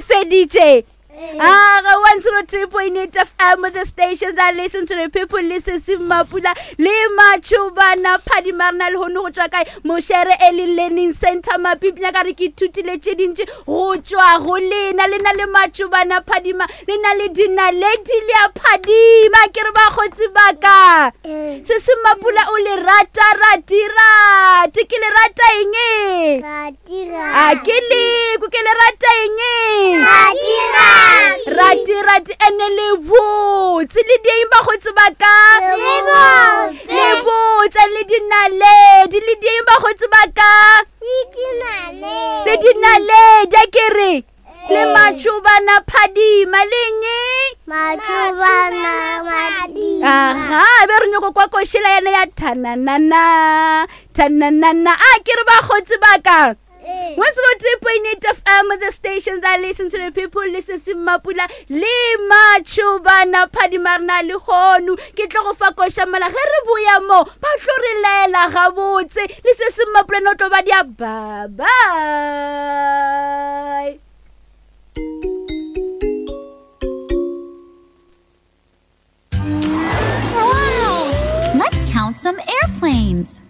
Le feditše? Aga 103.8 FM, the station that listen to the people, listen se Mapula le Matšhobana Phadima. Re na le hono go tšwa kae? Mošere Early Learning Center Mapipi. Nyaka re ke ithutile tše dintši go tšwa go lena. Le na le Matšhobana Phadima, le na le dinaledi le a phadima. Ke re bakgotsi ba ka, se se Mapula o le rata rati rati. Ke le rata eng? A ke leko ke le rata eng? Rati rati. Ene le botse le dieng bakgotsi ba ka? Le botse le dinaledi le dieng bakgotsi ba ka? Le dinaledi. A ke re le Matšhobana Phadima leng? Matšhobana Phadima. Aha, be re nyoko kwa košela yena ya thananana thananana. A ke re bakgotsi ba ka, 103.8 FM, the station that listen to the people, listen se Mapula le Matšhobana Phadima. Re na le hono ke tlo go fa koša mola ge re boya mo ba tlo re laela gabotse le se se Mapula no tlo ba dia. Bye bye. Wow! Let's count some airplanes.